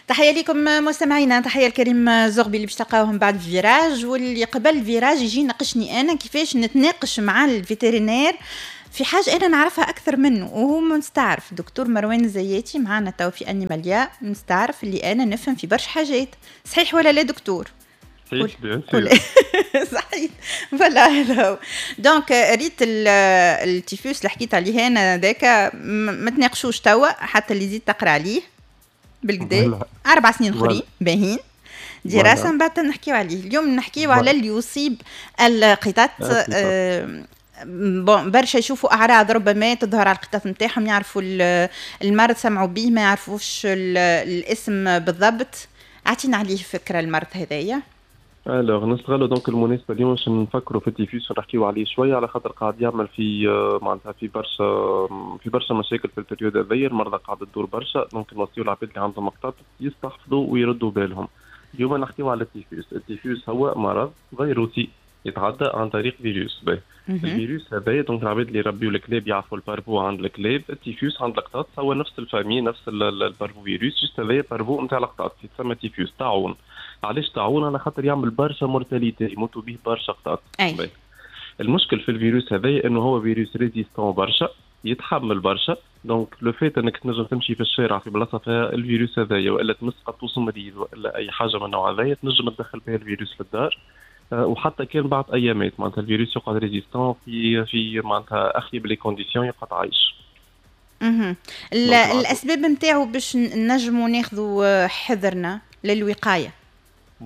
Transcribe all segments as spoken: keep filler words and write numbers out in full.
تحية لكم مستمعينا، تحية لكريم زغبي اللي باش تلقاوهم بعد virage، واللي قبل virage يجي يناقشني انا كيفاش نتناقش مع ال vétérinaire في حاجة انا نعرفها اكثر منه وهو مستعرف. دكتور مروان الزياتي معنا تو في انيماليا، مستعرف اللي انا نفهم في برشا حاجات، صحيح ولا لا دكتور؟ صحيح، bien sûr. صحيح، voilà. هذا هو. donc ريت التيفوس اللي حكيت عليه انا ذاك، ما تناقشوش توا حتى اللي يزيد تقرا عليه بالقدا اربع سنين اخرين باهين دراسه، من بعد نحكيو عليه. اليوم نحكيو على اللي يصيب القطط. آه bon، برشا يشوفوا اعراض ربما تظهر على القطط نتاعهم، يعرفوا المرض، سمعوا به، ما يعرفوش الاسم بالضبط. اعطينا عليه فكرة المرض هذايا. alors نستغلوا donc المناسبة اليوم باش نفكروا في التيفوس ونحكيو عليه شويه، على خاطر قاعد يعمل في معناتها في برشا في برشا مشاكل في ال période هذيا. المرضى قاعدة تدور برشا، donc نوصيو العباد اللي عندهم قطط يستحفظوا ويردوا بالهم. اليوم نحكيو على التيفوس. التيفوس هو مرض فيروسي يتعدى عن طريق فيروس. باهي، الفيروس هذايا، donc العباد اللي يربيو الكلاب يعرفوا ال parvo عند الكلاب، التيفوس عند القطاط هو نفس ال famille، نفس ال parvovirus، juste هذايا parvo نتاع القطاط يتسمى تيفوس طاعون. علاش طاعون؟ على خاطر يعمل برشا mortalité، يموتوا به برشا قطاط. المشكل في الفيروس هذايا انه هو فيروس résistant برشا، يتحمل برشا. donc le fait انك تنجم تمشي في الشارع في بلاصة فيها الفيروس هذايا، والا تمس قطوس مريض، والا اي حاجة من النوع هذايا، تنجم تدخل بها الفيروس للدار، آه، وحتى كان بعد ايامات معناتها الفيروس يقعد résistant في في معناتها اخيب les conditions يقعد عايش. اها، الاسباب نتاعو باش نجموا ناخذوا حذرنا للوقايه.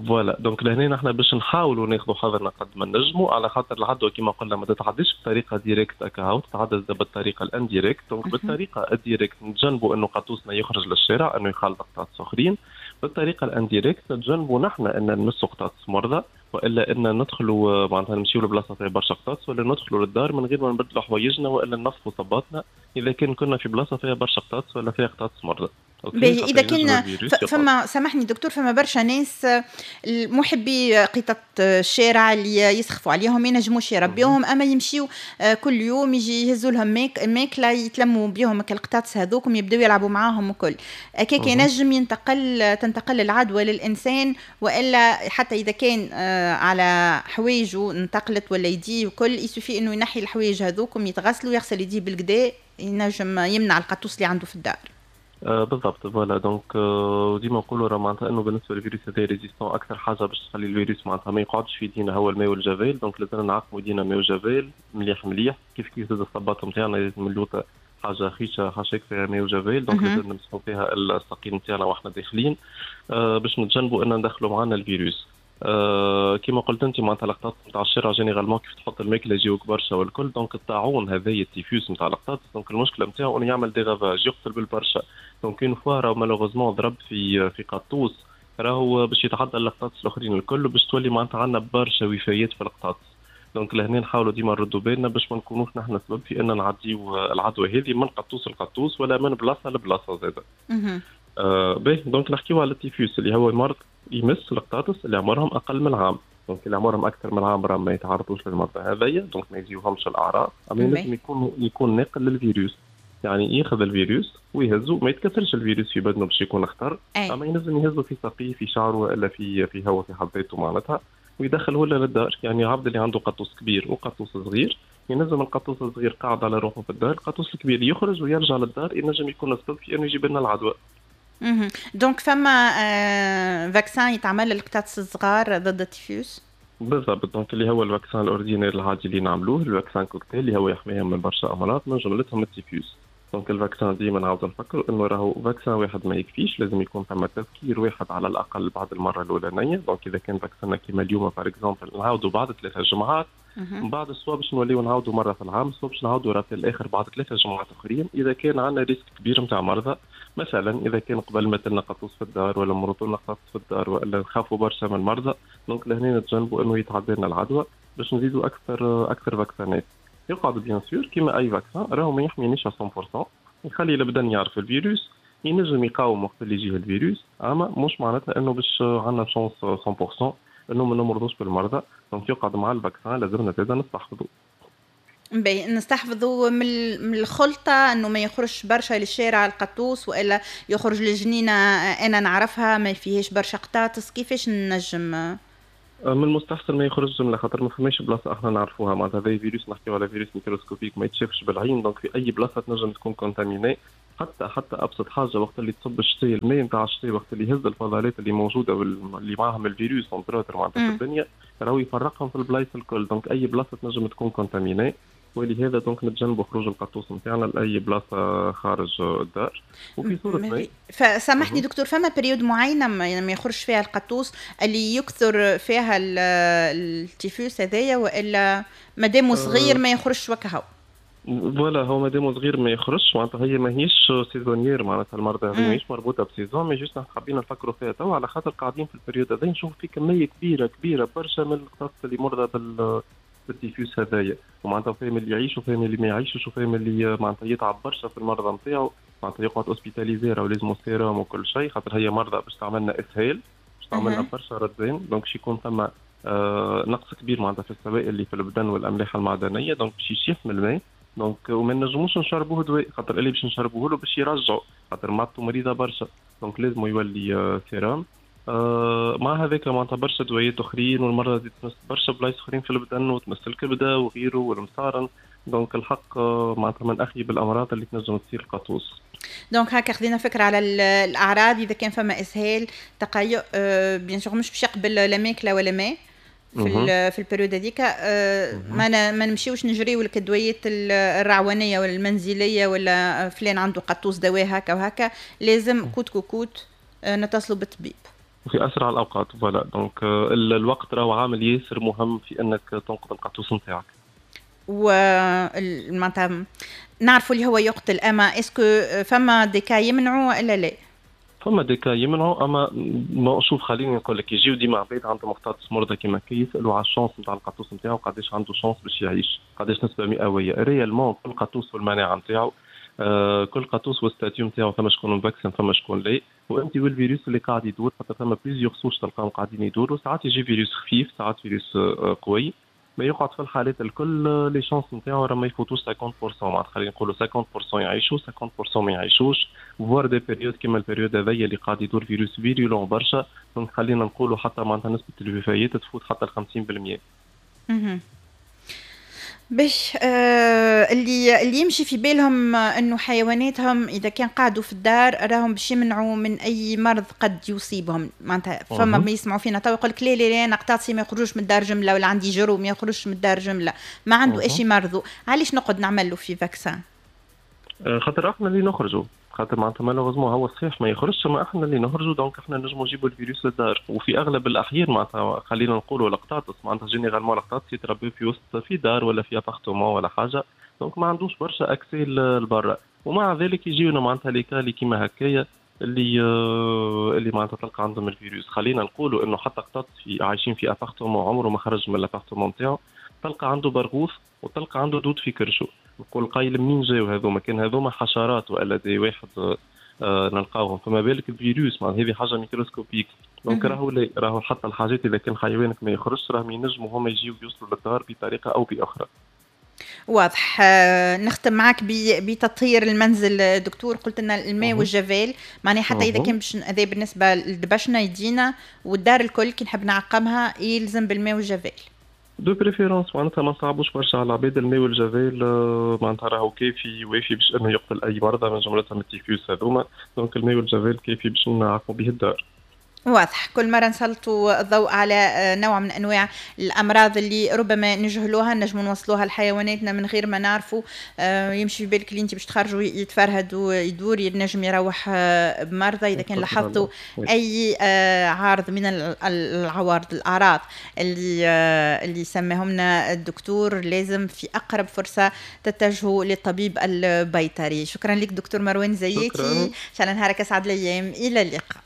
voilà، donc لهنا نحن باش نحاولوا ناخذوا حذرنا قد ما نجموا، على خاطر العدوى كما قلنا ما تتعديش بطريقة directe هكا، تتعدى بالطريقة ال indirecte. donc بالطريقة ال directe نتجنبوا انه قطوسنا يخرج للشارع، انه يخالط قطاطس اخرين. بالطريقة ال indirecte نتجنبوا نحن ان نمسوا قطاطس مرضى، والا ان ندخلوا معناتها نمشيو لبلاصه فيها برشا قطاطس، ولا ندخلوا للدار من غير ما نبدلوا حوايجنا، والا ننظفوا صباطنا اذا كان كنا في بلاصة فيها برشا قطاطس ولا فيها قطاطس مرضى. باهي، اذا كان فما، سامحني دكتور، فما برشا ناس محبي قطط الشارع اللي يسخفوا عليهم، ما ينجموش يربيوهم، اما يمشيو آه، كل يوم يجي يهزوا لهم ماكله، يتلموا بيهم القطاطس هذوكم، يبداو يلعبوا معاهم وكل هكاك، ينجم ينتقل تنتقل العدوى للانسان؟ والا حتى اذا كان آه، على حوايجه انتقلت ولا يديه وكل، il suffit انه ينحي الحوايج هذوكم، يتغسلوا، يغسل يديه بالقدا، ينجم يمنع القطوس اللي عنده في الدار؟ آه بالضبط، voilà. donc آه ديما نقولوا راه معناتها انه بالنسبة للفيروس هذا résistant، اكثر حاجة باش تخلي الفيروس معناتها ما يقعدش في يدينا هو الماء والجافيل. donc لازم نعقموا يدينا ماء وجافيل مليح مليح. كيف كيف زاد الصباط نتاعنا لازم اللوطه حاجة خيشه حاشاك فيها ماء وجافيل، donc لازم نمسحوا فيها الساقين نتاعنا واحنا داخلين آه باش نتجنبوا ان ندخلوا معنا الفيروس. آه كما قلت انت، معناتها القطاط نتاع الشارع généralement كيف تحط الماكلة يجيوك برشا والكل. donc الطاعون هذايا التيفوس نتاع القطاط، donc المشكلة نتاعو انه يعمل des ravages، يقتل بالبرشا. donc une fois راهو malheureusement ضرب في في قطوس، راهو باش يتعدى القطاطس الاخرين الكل، وباش تولي معناتها عندنا برشا وفيات في القطاطس. donc لهنا نحاولوا ديما نردوا بالنا باش ما نكونوش نحن سبب في ان نعديو العدوى هذه من قطوس لقطوس ولا من بلاصة لبلاصه زاده. آه باهي، donc نحكيو على التيفوس اللي هو مرض يمس القطاطس اللي عمرهم اقل من عام. donc اللي عمرهم اكثر من عام راه ما يتعرضوش للمرض هذايا، donc ما يجيوهمش الاعراض، اما ينجم يكون يكون ناقل للفيروس، يعني ياخذ الفيروس ويهزو، ما يتكاثرش الفيروس في بدنه باش يكون خطر، اما ينجم يهزو في ساقيه، في شعره، والا في في هو في حد ذاته معناتها، ويدخله للدار. يعني عبد اللي عنده قطوس كبير وقطوس صغير، ينجم القطوس الصغير قاعد على روحه في الدار، القطوس الكبير يخرج ويرجع للدار، ينجم يكون السبب في انه يجيب لنا العدوى. donc فما آه vaccin يتعمل للقطاطس الصغار ضد التيفوس؟ بالضبط، donc اللي هو ال vaccin ال ordinaire العادي اللي نعملوه، ال vaccin cocktail اللي هو يحميهم من برشا امراض من جملتهم التيفوس. donc ال vaccin ديما نعاود نفكروا انه راهو vaccin واحد ما يكفيش، لازم يكون ثم تذكير واحد على الاقل بعد المرة الاولانيه. donc اذا كان vaccin كيما اليوم par exemple، نعاودوا بعد ثلاثة جمعات، من بعد soit باش نوليو نعاودوا مرة في العام، soit باش نعاودوا rappel اخر بعد ثلاثة جمعات اخرين اذا كان عندنا risque كبير نتاع مرضى. مثلا اذا كان قبل مات لنا قطوس في الدار، ولا مرضوا لنا قطاطس في الدار، والا نخافوا برشا من المرضى، donc لهنا نتجنبوا انه يتعدى لنا العدوى باش نزيدوا اكثر اكثر vaccin ات. يقعد bien sûr كيما اي vaccin راهو ما يحمينيش مية في المية، يخلي البدن يعرف الفيروس، ينجم يقاوم وقت اللي يجيه الفيروس، اما مش معناتها انه باش عندنا chance مية في المية انه ما نمرضوش بالمرضى. donc يقعد مع ال vaccin لازمنا زاده نستحفظوا. باهي، نستحفظوا من من الخلطة انه ما يخرجش برشا للشارع القطوس، والا يخرج للجنينه انا نعرفها ما فيهاش برشا قطاطس، كيفاش نجم؟ من المستحسن ما يخرجش جملة، خاطر ما فماش بلاصة احنا نعرفوها. معناتها هذا فيروس، نحكيو على فيروس microscopique ما يتشافش بالعين، donc في اي بلاصة تنجم تكون contaminée. حتى حتى ابسط حاجه، وقت اللي تصب الشتاء، الماء نتاع الشتاء وقت اللي يهز الفضلات اللي موجودة واللي معاهم الفيروس entre autres معناتها في الدنيا، راهو يفرقهم في البلايص الكل، donc اي بلاصة تنجم تكون contaminée. ولهذا donc نتجنبوا خروج القطوس نتاعنا لاي بلاصة خارج الدار. وفي صوره ما فسامحني دكتور، فما période معينة ما يخرج فيها القطوس اللي يكثر فيها التيفوس هذايا، والا مادامو صغير ما يخرجش وكهو؟ voilà، هو مادام صغير ما يخرجش. معناتها هي ماهيش saisonnière، معناتها المرضى هذه ماهيش مربوطة ب saison، mais juste حابين نفكروا فيها توا على خاطر قاعدين في ال période هذا نشوف في كمية كبيرة كبيرة برشا من القطاطس اللي مرضى بال بالتيفوس هذايا. ومعناتها فاهم اللي يعيش وفاهم اللي ما يعيشش، وفاهم اللي معناتها يتعب برشا في المرضى نتاعو، معناتها يقعد hospitalisé ولازم سيروم وكل شيء، خاطر هي مرضى باش تعملنا اسهال، باش تعملنا برشا ردين، donc باش يكون ثم آه نقص كبير معناتها في السوائل اللي في البدن والاملاح المعدنيه، donc باش يشيح من الماء، donc وما نجموش نشربوه دواء، خاطر اللي باش نشربوه له باش يرجعوا، خاطر معدته مريضه برشا، donc لازم يولي آه سيرام. آه مع هذاك معناتها برشا دوايات اخرين، والمرضى تمس برشا بلايص اخرين في البدن، وتمس الكبده وغيره والمصارن، donc الحق آه معناتها من اخيب الامراض اللي تنجم تصير القطوس. donc هكا خذينا فكرة على الاعراض، اذا كان فما اسهال، تقيؤ، آه bien sûr مش باش يقبل لا ماكله ولا ماء في في ال période هذيك، آه، ما ما نمشيوش نجريو لك الدويات الرعوانيه ولا المنزلية ولا فلان عنده قطوس دواء هكا وهكا، لازم coûte que coûte آه، نتصلوا بالطبيب في اسرع الاوقات. voilà، donc الوقت راهو عامل ياسر مهم في انك تنقذ القطوس نتاعك. و معناتها نعرفوا اللي هو يقتل، اما est-ce que فما des cas يمنعوا ولا لا؟ فما des cas يمنعوا، اما ما شوف، خليني نقول لك، يجيو ديما عباد عندهم قطاطس مرضى كيما كي يسالوا على ال chance نتاع القطوس نتاعو، قداش عنده chance باش يعيش، قداش نسبه مئويه. réellement كل قطوس والمناعة نتاعو، آه كل قطوس وال statut نتاعو، فما شكون vacciné فما شكون لا، وانت والفيروس اللي قاعد يدور، خاطر فما plusieurs souches تلقاهم قاعدين يدوروا، ساعات يجي فيروس خفيف، ساعات فيروس آه قوي، ما يقعد في الحالات الكل les chances نتاعو راه ما يفوتوش خمسين بالمية، معناتها خلينا نقولوا خمسين بالمية يعيشوا، خمسين بالمية ما يعيشوش، voire des périodes كيما ال période هذيا اللي قاعد يدور فيروس virulent برشا، donc خلينا نقولوا حتى معناتها نسبه الوفيات تفوت حتى ال خمسين بالمية. اها، باش آه اللي اللي يمشي في بالهم انه حيواناتهم اذا كان قعدوا في الدار راهم باش يمنعوا من اي مرض قد يصيبهم، معناتها فما ما يسمعوا فينا تو يقول لك لا لا لا، انا قطاطسي ما يخرجوش من الدار جمله، ولا عندي جرو ما يخرجش من الدار جمله، ما عنده ايش يمرضوا، علاش نقعد نعمل له في vaccin؟ آه، خاطر احنا اللي نخرجوا، خاطر معناتها malheureusement هو صحيح ما يخرجش، ما احنا اللي نخرجوا، donc احنا نجموا نجيبوا الفيروس للدار. وفي اغلب الاحيان معناتها خلينا نقولوا القطاطس، معناتها généralement القطاطس يتربوا في وسط في دار ولا في appartement ولا حاجه، donc ما عندوش برشا accès لبرا، ومع ذلك يجيونا معناتها les cas اللي كيما هكايا اللي آه، اللي معناتها تلقى عندهم الفيروس. خلينا نقولوا انه حتى قطاط في عايشين في appartement عمره ما خرج من l'appartement نتاعو، تلقى عنده برغوث وتلقى عنده دود في كرشه، نقول قايل منين جاو هذوما؟ كان هذوما حشرات والا des واحد آه نلقاوهم، فما بالك الفيروس؟ معناها هذه حاجة microscopique. donc راهو لا، راهو حتى الحاجات اذا كان حيوانك ما يخرجش راهم ينجموا هما يجيو يوصلوا للدار بطريقة او باخرى. واضح. آه، نختم معك بتطهير المنزل دكتور، قلت لنا الماء والجافيل، معناها حتى اذا كان باش هذا بالنسبة لدبشنا يدينا والدار الكل كي نحب نعقمها يلزم بالماء والجافيل. de préférence معناتها ما نصعبوش برشا على العباد، الماء والجافيل آه، معناتها راهو كافي وافي باش انه يقتل اي مرضى من جملتهم التيفوس هذوما، donc الماء والجافيل كافي باش نعقموا به الدار. واضح. كل مرة نسلطوا الضوء على آه، نوع من أنواع الأمراض اللي ربما نجهلوها، نجموا نوصلوها لحيواناتنا من غير ما نعرفوا. آه، يمشي في بالك اللي انت باش تخرجوا يتفرهد ويدور، ينجم يروح آه، بمرضى. إذا كان لاحظتوا أي عارض من العوارض، الأعراض اللي اللي سماهم لنا الدكتور، لازم في أقرب فرصة تتجهوا للطبيب البيطري. شكرا لك دكتور مروان زياتي، إن شاء الله نهارك أسعد الأيام، إلى اللقاء.